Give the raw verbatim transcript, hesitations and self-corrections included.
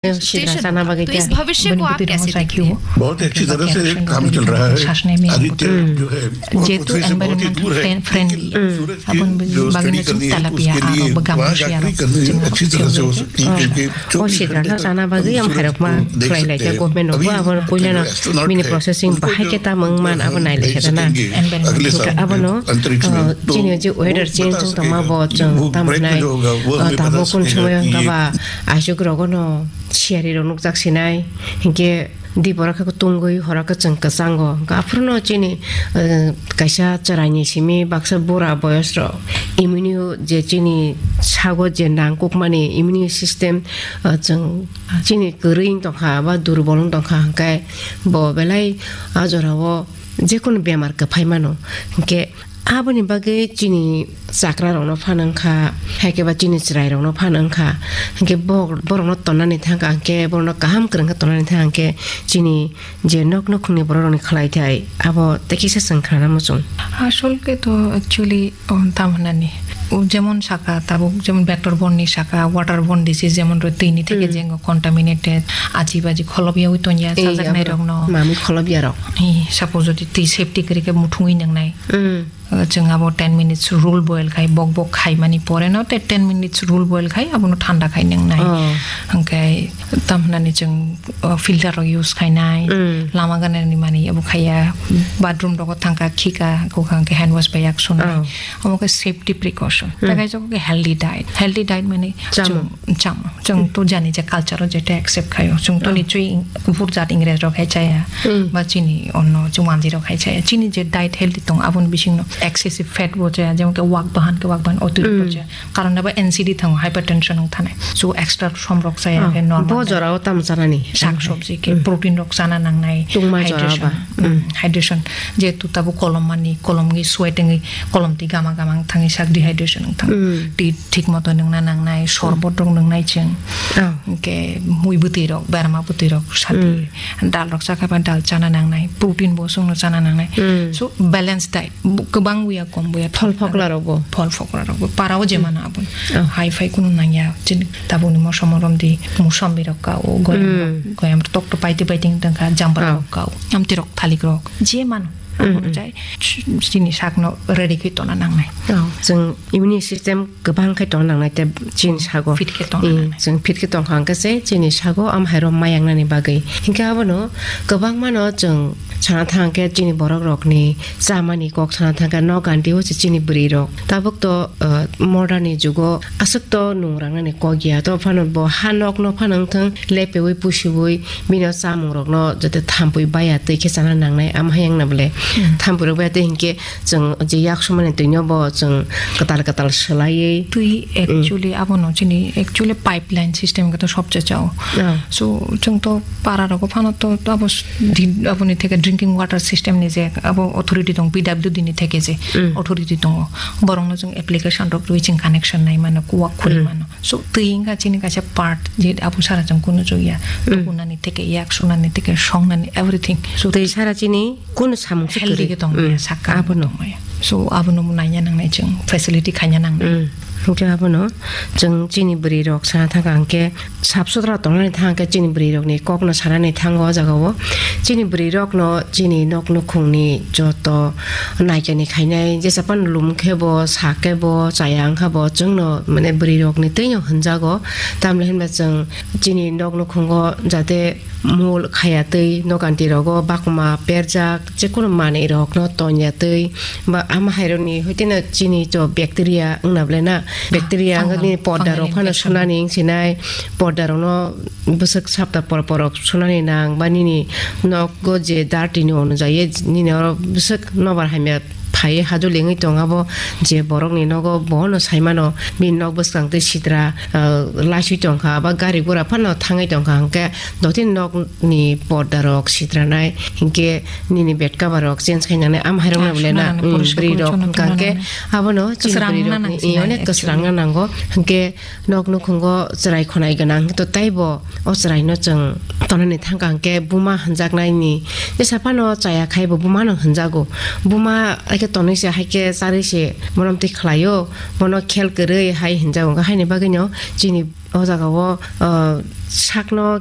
Sidra sana bagwi तो इस kya? भविष्य को आप कैसे देखते हैं? बहुत ही अच्छी तरह से काम चल रहा है। आदित्य जो है, वो पृथ्वी से बहुत ही दूर है। जो study करनी है, उसके लिए वहाँ जाकर करनी अच्छी तरह से हो सकती है, क्योंकि O sidra na sana bagwi am khairokma khlai lai kya government no bo abo puila no bini processing bahai khe tamo wng man abo nai lai khe na. Abono chini je weather change wng tongma bo chwng tamo nai. Tabuk kun somoy wng kha ba aswk rogo no siyari rok nukjak sinai, hinkhe di borok khe tungwi horo khe chwng kwchango. Hwnkhe aphuru no chini, eh, kaisa chwraini simi baksa bura boyos rok immune je chini sago je nangkukmani immune system, eh, chwng chini kwrwi wng tongkha ba durbol wng tongkha, hwnkhe bo belai a jorao jekunu bemar kwphai mano. Hinkhe Aboni bagwi chini chakra rokno phano wngkha, hai khe ba chini chwrai rokno phano wngkha. Hinkhe bo-, borokno tonnani thangkha, hinkhe borokno kaham kwrwng khe tonnani thangkha, hinkhe chini je nok nukhungni borok rokni khlai thai, abo tei kisa chwng khnana muchung. Asol khe to actually, o, tam hwnani, o, jemon saka tabuk, jemon vector borne saka, water borne disease, jemon rw twi ni theke Hmm. jengo contaminated, aji baji kholobya wi tongya, Ei, sajaknai abo rokno. Mami kholobya rok. Ei, suppose jodi twi safety kwrwi khe muthungwi nwngnai. Hmm. Uh, chwng abo ten minutes rule boil khai, bok bok khaimani pore no te ten minutes rule boil khai, abono thanda khai nwngnai. Oh. Hwnkhe tam hwnani chwng, uh, filter rok use khainai, Mm. lama ganani mani abo khaiya, bathroom rogo thangkha, khika, kokha hwnkhe hand wash bai yak sunai. Oh. Omo khe safety precaution. Mm. Tei kaisa khe healthy diet. Healthy diet mani Chamung. chwng, chamung. Chwng to jani je culture o jeto accept khaio. Chwng to Oh. nichoi ing-, buphur jat Ingres rok hai chaya. Mm. Ba chini onno chwng manjwi rok hai chaya. Chini je diet healthy tong aboni bisingno excessive fat bo chaya. Jemon ke wak bahan ke wak bahan otirikto Mm. chaya. Karon abo N C D thango, hypertension wng thanai. So extra som rok chaya Oh. khe normal Bo diet. Jorao tam chanani? Sak sabji ke Mm. protein rok chana nangnai. Tungma jora Hydration. ba? Mm. Mm. Hydration. Jehetu tabuk kolom mani, kolom gwi sweat wngwi, kolom twi gama gama wng thangwi sak dehydration wng thango. Mm. Twi thik moto nwngna nangnai, sorbot rok nwngnai chwng. Oh. Hwnkhe mui bwtwi rok, berma bwtwi rok sati. Mm. Dal rok chakha ba dal chana nangnai, protein bo chwngno chana nangnai. Mm. So balance diet, bo kwbang buya kom buya Phol thok phokla nangnai. rok bo. Phol phokla rok bo. Para o je Mm. mano aboni. Oh. Hai phai kunu nangya, chini tabukni mosom romdi, musambi rok ka o, goyam rok, Mm. goyam rok tok to paiti paiti wng tongkha, jambra Oh. rok ka o. Amtwi rok, thalik rok, je mano. Mm, Aboni mm. chai ch-, chini sakno ready khe tona nangnai. Oh, chwng immune system kwbang khe tong nangnai tei chini sago. Fit khe tong Eh, nangnai. Chwng fit khe tong kha hwnkhe se chini sago am hai rok ma yang nani bagwi. Hinkhe abono kwbangma no chwng sana thang khe chini borok rok ni chamani kok sana thang khe nok ganti o se chini bwrwi rok. Tabuk to, uh, modern ni jugo aswk to nung rang nani kok ya. To phano bo ha nok no phano wng thang lepeui pusiui bini o chamung rokno jate thampui baya twi khe chana nangnai, am hai wngna bole Hmm. thampui rok baya twi hinkhe chwng je yak sumani twino bo chwng kwtal kwtal swlaiwi. Twi Hmm. actually abono chini actually pipeline system khe to sobse chao. Oh. So chwng to para rogo phano to, to abo s-, din, aboni theke drinking water system ni je abo authority tong, P W D ni theke je Hmm. authority tongo. Borokno chwng application rok rwi chwng connection nai mano, kuwak khuri Hmm. mano. So, twi wngkha chini kaisa part, je abo sara chwng kunu chukya. Mm. Tukunani theke, yak sunani theke, songnani, everything. So, twi sara chini kunu samung se healthy kwrwi. Khe tongmaya, Mm. Sakka abono. Tongmaya. So, abono bo nanya nangnai chwng, facility khaina nangnai. Mm. Hwnkhe abono chwng chini bwrwi rok sana thangkha hwnkhe sap sutra tongnani thangkhe chini bwrwi rokni kokno sanani thango o jagao. Chini bwrwi rokno chini nok nukhungni joto naikani khainai, jesa phano lum khe bo, sa khe bo, chaya wng kha bo, chwngno, mane, bwrwi rokni twino hwnjago. Tamni hinba chwng chini nok nukhungo jate mul khaya twi, nokanti rogo bakma perjak, jekunu manwi rokno tonya twi, ba ama hai rokni hoiteno chini to bacteria wngna bole na, bacteria wngni porda rok phano sunani wng sinai, porda rokno bwswk sapta por por rok sunani nang, ba nini nogo je dirty ni onujai nini oro bwswk nobar hamya phai hajol wngwi tong abo, je borok ni nogo bono sai mano bini nok bwskang twi sitra, ah, laiswi tong kha ba gari gura phano thangwi tong kha, hwnkhe dotini nok ni porda rok sitra nai, hinkhe nini bed cover rok change khai nangnai, am hai rok na bole na, bwrwi rok hwnkha khe abono chini bwrwi rok ni onek kwsrang na nango, hwnkhe Nok nukhungo chwrai khwnai gwnang to taibo o chwraino chwng tonani thangkha hwnkhe buma hwnjaknaini jesa phano chaya khaibo bumano hwnjago. Buma tonwi se hai khe charwi se bono twi khlaio, bono khel kwrwi hai hinjago. Haini bagwino chini o jagao, ah, sakno